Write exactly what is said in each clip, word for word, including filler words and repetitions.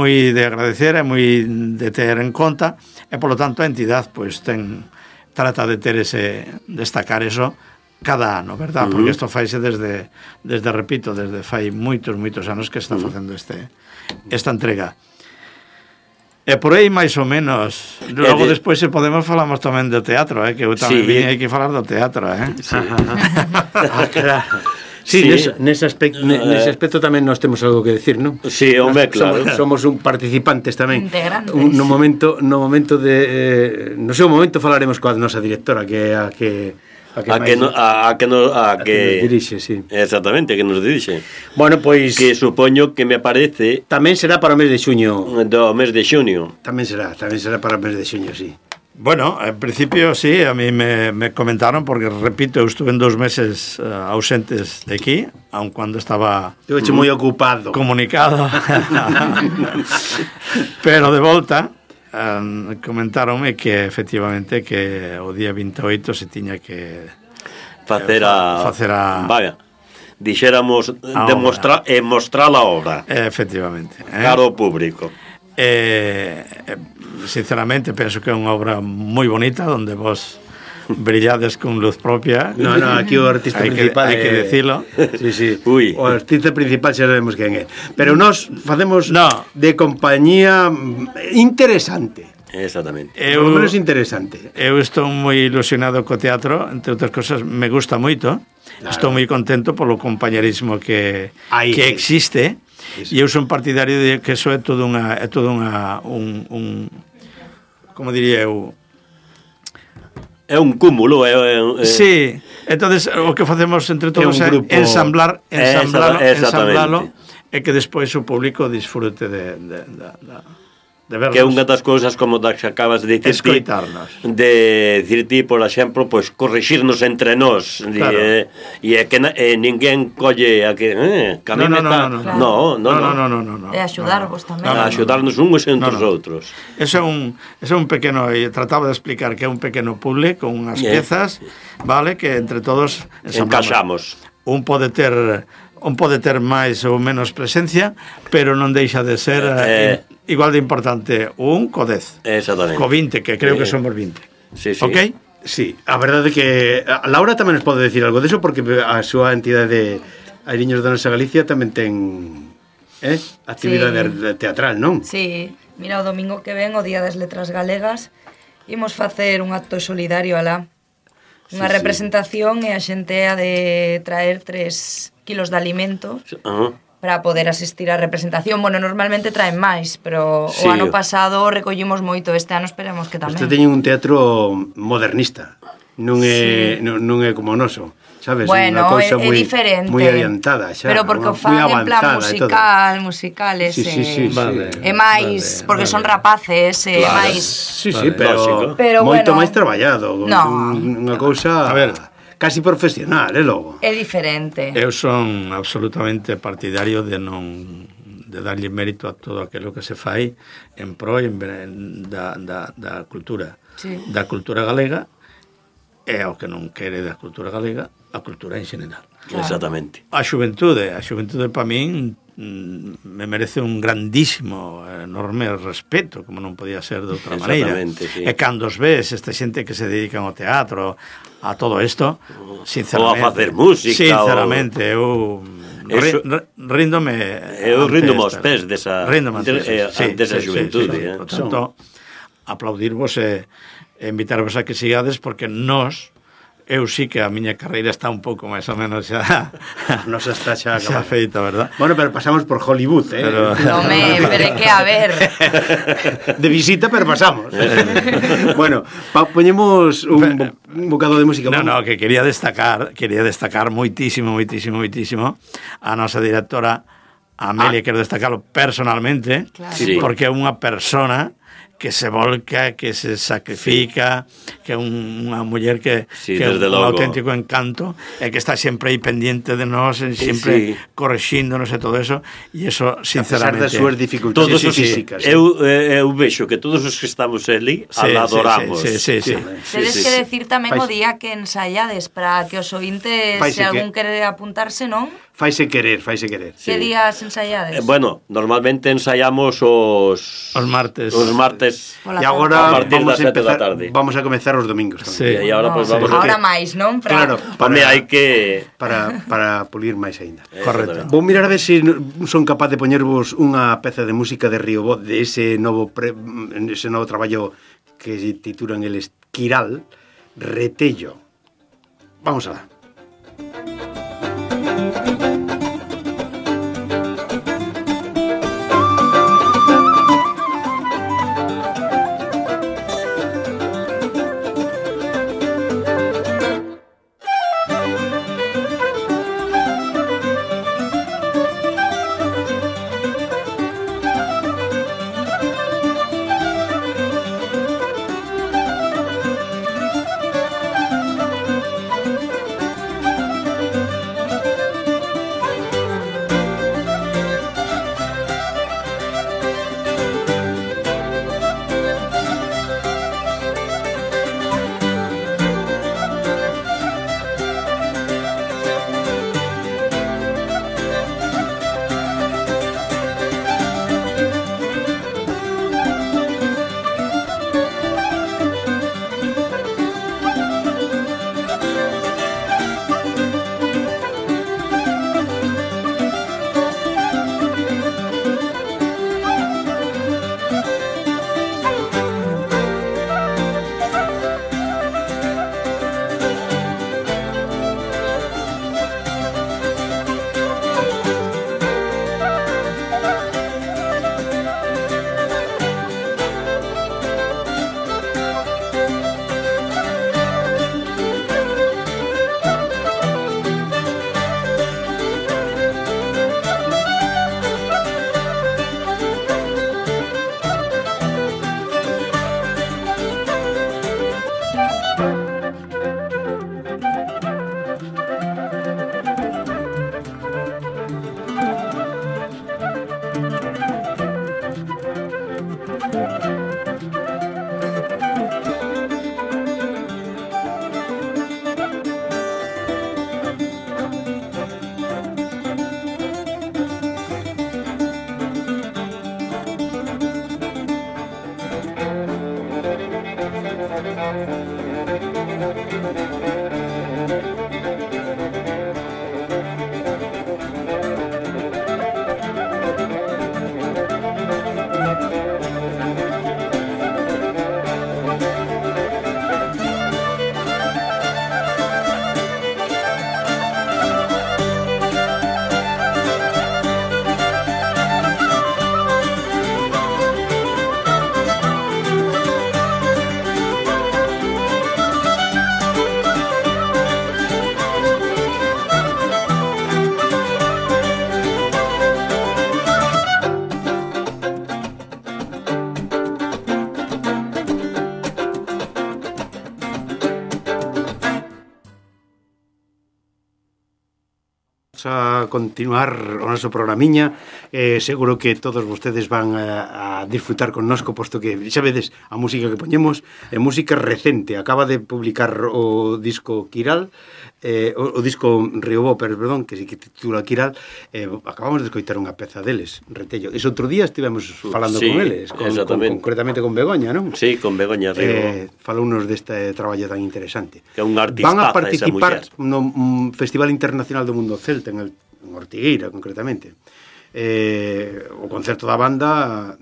moi de agradecer, é moi de ter en conta, e polo tanto a entidade pois ten trata de ter ese destacar eso cada ano, verdad? Uh-huh. Porque isto faise desde desde repito, desde fai moitos moitos anos que está facendo este esta entrega. E por aí máis ou menos. Logo de... despois se podemos falamos tamén do teatro, eh, que eu tamén sí. vim hai que falar do teatro, eh. Sí. Ah, claro. Sí, sí. Nese, nese, aspecto, nese aspecto tamén nós temos algo que decir, non? Sí, home, claro. Somos, somos un participantes tamén. Un, no momento no momento de eh, no seu momento falaremos coa nosa directora, que é a que a que, a que, no, a, a que, no, a a que, que nos dirixe, sí. Exactamente, que nos dirixe. Bueno, pois que supoño que me parece tamén será para o mes de xuño. Do mes de xuño. Tamén será, tamén será para o mes de xuño, sí. Bueno, en principio sí, a mí me, me comentaron, porque repito, eu estuve en dos meses uh, ausentes de aquí, aun cuando estaba eu hecho moi ocupado comunicado pero de volta um, comentaronme que efectivamente que o día veintiocho se tiña que facer a, facer a vaya, dixéramos demostrar e mostrar a obra efectivamente eh? caro ao público. Eh, sinceramente penso que é unha obra moi bonita onde vos brillades con luz propia. No, no, aquí o artista hay principal que, hai que decilo. Sí, sí. Uy. O artista principal xa sabemos quen é. Pero nós facemos no. de compañía interesante. Exactamente. Eu, por lo menos interesante. Eu estou moi ilusionado co teatro, entre outras cosas, me gusta moito. Claro. Estou moi contento polo compañerismo que Ahí, que sí. existe. E eu son partidario de que eso é todo unha é todo unha un, un como diría eu é un cúmulo é, é, é... Sí, entonces o que facemos entre todos é, grupo... é ensamblar ensamblalo, ensamblalo e que despois o público disfrute de, de, de, de de verlos. Que é unha das cousas como das que acabas de dicir ti, de dicir ti, por exemplo, pois corrixirnos entre nós, claro. e, e é que na, e ninguén colle a que eh, que a mí no, no, está no, no, claro. no, no, no, no, no, no, no, e axudarvos no, tamén no, no, a axudarnos uns entre os no, no. outros. Eso é un eso é un pequeno, e trataba de explicar que é un pequeno puzzle con unhas yeah. piezas, vale, que entre todos encaixamos. Un pode ter un pode ter máis ou menos presencia, pero non deixa de ser eh, eh, igual de importante un co dez. Exactamente. Co vinte, que creo eh, que somos vinte. Sí, sí. Ok? Sí, a verdade é que a Laura tamén nos pode decir algo deso, porque a súa entidade Airiños da Nosa Galicia tamén ten eh, actividade sí. teatral, non? Sí, mira, o domingo que ven, o Día das Letras Galegas, imos facer un acto solidario alá. Unha sí, representación sí. e a xente ha de traer tres kilos de alimento uh-huh. para poder asistir á representación. Bueno, normalmente traen máis, pero sí. o ano pasado recollimos moito, este ano esperemos que tamén. Este teñen un teatro modernista, non é, sí. non, non é como o noso, sabes? Bueno, unha cousa é, moi, é diferente. moi adiantada xa. Pero porque o fan en plan musical, musicales, sí, sí, sí, e, vale, e máis, vale, porque vale. son rapaces, e claro. máis... Sí, sí, vale, pero, pero moito bueno, máis traballado, no. unha cousa... A ver, casi profesional, é logo. É diferente. Eu son absolutamente partidario de non de darlle mérito a todo aquilo que se fai en pro en, en, da, da, da cultura sí. da cultura galega e ao que non quere da cultura galega a cultura en general. Claro. Exactamente. A xuventude, a xuventude para min me merece un grandísimo, enorme respeto, como non podía ser de outra maneira. Sí. E cando os ves, esta xente que se dedican ao teatro, a todo isto, sinceramente... Ou a facer música. Sinceramente, o... eu Eso... ríndome... Eu ríndome aos pés desa, ríndome de, eh, sí, desa sí, xuventude. Sí, sí, sí. Eh? Por tanto, aplaudirvos e, e invitarvos a que sigades, porque nós... Eu sí que a miña carreira está un pouco máis ou menos xa nos está xa, xa feita, verdad? Bueno, pero pasamos por Hollywood, eh? Pero... No me, pero que a ver. De visita, pero pasamos. Bueno, pa, poñemos un, bo, un bocado de música. No, no, que quería destacar, quería destacar moitísimo, moitísimo, moitísimo a nosa directora Amelia, ah. quero destacarlo personalmente, claro. sí. porque é unha persona que se volca, que se sacrifica, que é un, unha muller que, sí, que é un logo. auténtico encanto e que está sempre aí pendiente de nós, sempre sí. correxíndonos e todo eso, e eso, sinceramente... A pesar das súas dificultades sí, sí, físicas. Sí. Eu, eu vexo que todos os que estamos ali sí, la adoramos. Sí, sí, sí. sí, sí. sí. Tedes sí, que decir tamén Fais... o día que ensayades para que os ointes, Fais se algún que... quere apuntarse, non? faise querer, faise querer. Que sí. días ensaiades? Eh, bueno, normalmente ensaiamos os os martes. Os martes. E agora a partir vamos das a sete da empezar, tarde. Vamos a comezar os domingos tamén. Sí. E agora no, pues vamos sí. a Ahora máis, non? Para... Claro, para hai que para para pulir máis aínda. Correcto. Vou mirar a ver se si son capaz de poñervos unha peza de música de Río Voz de ese novo pre, ese novo traballo que se titulan el Esquiral, Retello. Vamos alá. A continuar o noso programiña, eh, seguro que todos vostedes van a, a disfrutar connosco, posto que xa vedes a música que poñemos é música recente. Acaba de publicar o disco Quiral, eh, o, o disco Río Voper, perdón, que se que titula Quiral. eh, acabamos de escoitar unha peza deles, Retello. Ese outro día estivemos falando sí, con eles, con, con, concretamente con Begoña, non? Sí, con Begoña Río. Eh, falounos deste traballo tan interesante. Que é un artistaza. Van a participar no um, Festival Internacional do Mundo Celta en el en Ortigueira, concretamente. Eh, o concerto da banda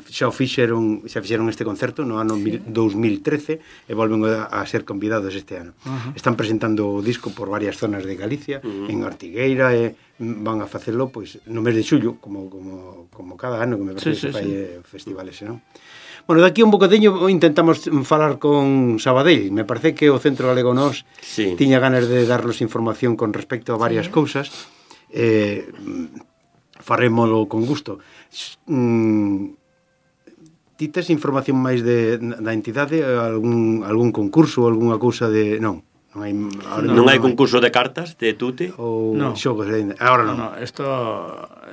xa o fixeron, xa fixeron este concerto no ano dous mil trece e volven a, a ser convidados este ano. Uh-huh. Están presentando o disco por varias zonas de Galicia, uh-huh. en Ortigueira, e van a facelo pois no mes de xullo, como como como cada ano que me parece sí, que sí, fai sí. festivales, non? Bueno, daqui un bocadeño intentamos falar con Sabadell. Me parece que o Centro Galego Nós sí. tiña ganas de darnos información con respecto a varias sí. cousas. Eh, farémolo con gusto. Mm, ti tes información máis de, da entidade? Algún, algún concurso, algunha cousa de... Non, non hai, non, non hai concurso de cartas de tute? Ou no. xogos de... Agora non. No, no, esto,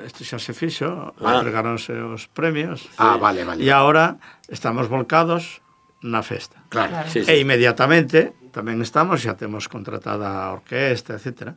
esto xa se fixo, ah. entregaronse os premios. Ah, sí. vale, vale. E agora estamos volcados na festa. Claro. claro. Sí, sí. E inmediatamente tamén estamos, xa temos contratada a orquesta, etcétera.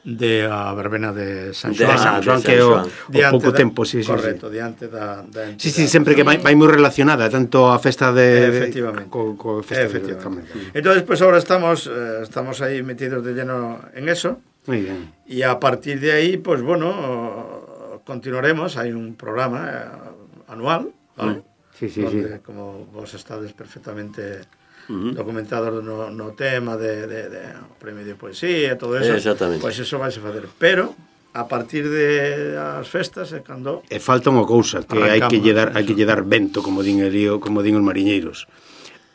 de a verbena de San De Xoán. San Xoán, que é o, o pouco tempo, sí, sí. Correcto, sí. diante da, da Sí, sí, sempre que vai, vai moi relacionada tanto a festa de... Efectivamente. Co, co festa Efectivamente. de... Entonces, pues ahora estamos, eh, estamos ahí metidos de lleno en eso. Muy bien. Y a partir de ahí, pues bueno, continuaremos. Hay un programa eh, anual, ¿vale? Sí, sí, donde, sí. como vos estades perfectamente... Uh-huh. documentados no, no tema de, de, de premio de poesía, todo eso. Exactamente. Pois eso vai se fazer, pero a partir de as festas é cando E falta unha cousa que hai que lle dar, hai que lle dar vento, como din el lío, como din os mariñeiros,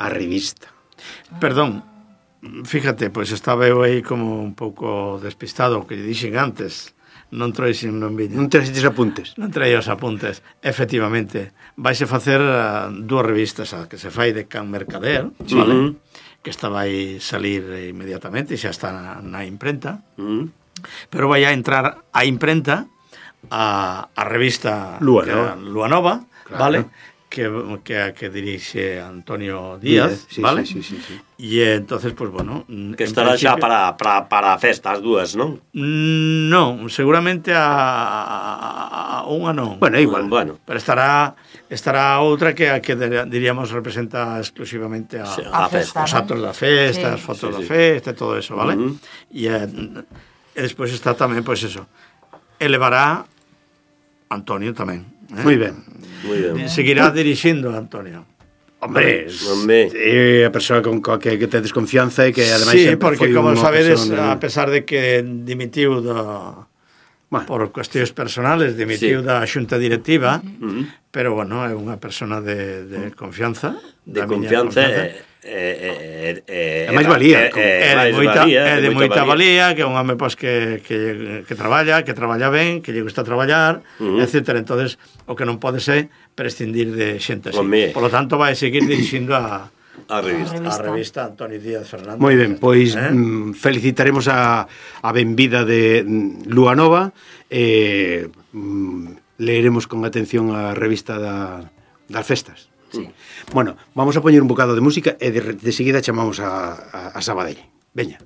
a revista. Perdón, fíjate, pois estaba eu aí como un pouco despistado, que lle dixen antes, non trouxen non viña. Non traes apuntes? Non traía os apuntes. Efectivamente, vaise facer uh, dúas revistas, a que se fai de Can Mercader, sí. Vale? Que esta vai salir inmediatamente, xa está na, na imprenta, uh-huh. Pero vai a entrar a imprenta a, a revista Lua Nova, Lua Nova, claro. Vale? Que, que, que dirixe Antonio Díaz, sí, vale? Sí, sí, sí, sí. E entonces, pues bueno... Que estará principio... xa para, para, para a festa as dúas, non? Non, seguramente a, a unha non. Bueno, igual. Bueno. Pero estará estará outra que a que diríamos representa exclusivamente a, sí, a, a festa, os actos da festa, sí. As fotos sí, da sí. Festa, todo eso, vale? Uh-huh. E, e despois está tamén, pois pues eso, elevará Antonio tamén. Eh? Moi ben. Muy bien. Seguirá dirixindo Antonio. Hombre, hombre, é a persoa con coa que, que te desconfianza e que ademais sí, porque como sabedes, de... a pesar de que dimitiu do bueno. Por cuestións personales, dimitiu sí. Da xunta directiva, uh-huh. Pero bueno, é unha persona de, de confianza, de confianza, confianza. É, é, é, é máis valía, é, é, de moita, é de moita valía, que é un home pois, que, que, que traballa, que traballa ben, que lle gusta traballar, uh-huh. etcétera. Entonces, o que non pode ser prescindir de xente así. Por lo tanto, vai seguir dirixindo a a revista, a revista Antonio Díaz Fernández. Moi ben, pois eh? mm, felicitaremos a, a benvida de Lua Nova e eh, mm, leeremos con atención a revista da, das festas. Sí. Bueno, vamos a poñer un bocado de música e de, de seguida chamamos a, a, a Sabadell. Veña.